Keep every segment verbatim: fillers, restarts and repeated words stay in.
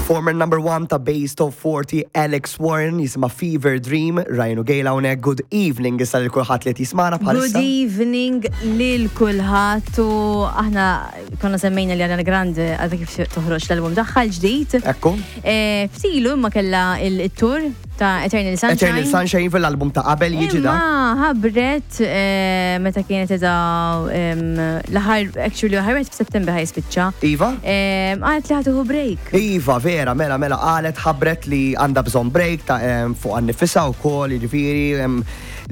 Former number one ta' Base Top forty, Alex Warren, jisimha Fever Dream. Ryan u Gail hawnhekk, good evening issa lil kulħadd li qed jismagħna Good bħalissa. evening lil kulħadd u aħna konna semmejna li Ariana Grande għadha kif toħroġ l-album tagħha l-ġdid. Ekku. Eh, Ftilu imma kella il-tour ta' Eternal Sunshine. Eternal Sunshine fil-album ta' qabel jiġi da. Imma ħabbret eh, meta kienet edha l-aħħar, actually l-aħħar wieħed f'Settembru ħa jispiċċa. Iva? Em, Qalet li ħa tieħu break. Iva, vera, mela, mela, qalet, ħabbret li għandha bżonn break ta' em, fuq għan-nifisha u kollox, jiġifieri, em,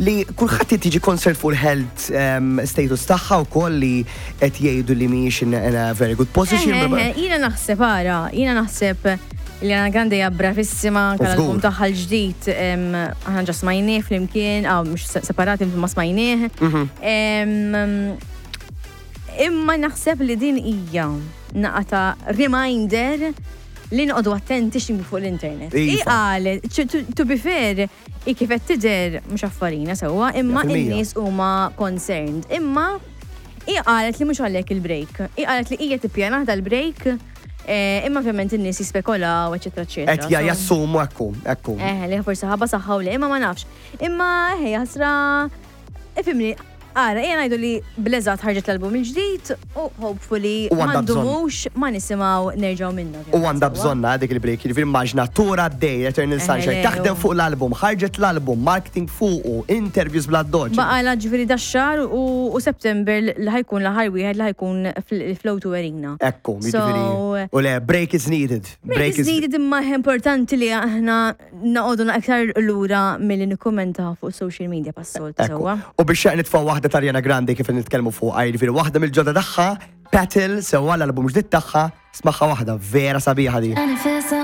li kulħadd qed jiġi concerned fuq il-health em, status tagħha u kollox, li qed jgħidu li mhijiex in in a very good position. Eh, eh, Jiena naħseb, ara, jiena naħseb li Ariana Grande hija bravissima, anke l-album Żgur. tagħha l-ġdid, em, aħna ġa smajnieh flimkien, aw mhux separati ma smajnieh. Mhm. Em, Imma naħseb li din hija naqra ta' reminder li noqogħdu attenti x'niktbu fuq l-internet. Iva. I qalet, to- to- to be fair, i kif qed tidher mhux affarina sewwa, imma Mija fil-mija. in-nies huma concerned. Imma i qalet li mhux għalhekk il-break. I qalet li hija tippjana dal-break, eh, imma ovvjament in-nies jispekulaw, eċetera, eċetera. Qed ja So- jassumu, ekku, ekku. Eh, li forsi ħabba saħħa u le, imma ma nafx. Imma ħej, ħasra, ifhimni, ara, ejja ngħidu li bl-eżatt ħarġet l-album il-ġdid u hopefully U ma għandha bżonn. ndumux ma nisimgħu nerġgħu minnu. U għandha bżonna dik il-break, jiġifieri immaġina tour għaddej, Eternal Sunshine, le, taħdem u- fuq l-album, ħarġet l-album, marketing fuqu, interviews bla doġ. Baqa ġifieri dax-xahar u u September li ħa jkun l-aħħar wieħed li ħa jkun fl-O two Arena. Ekku, So, jiġifieri. U le, break is needed. Break is needed, imma importanti li aħna noqogħdu aktar lura milli nikkummenta fuq social media pas-soltu Ekku. sewwa. U biex xaq nitfaw waħda ta' Ariana Grande kif nitkellmu fuq, jiġifieri waħda mill-ġodda tagħha, Petal, sewwa l-album ġdid tagħha, smagħha waħda vera sabiħa di. And it feels so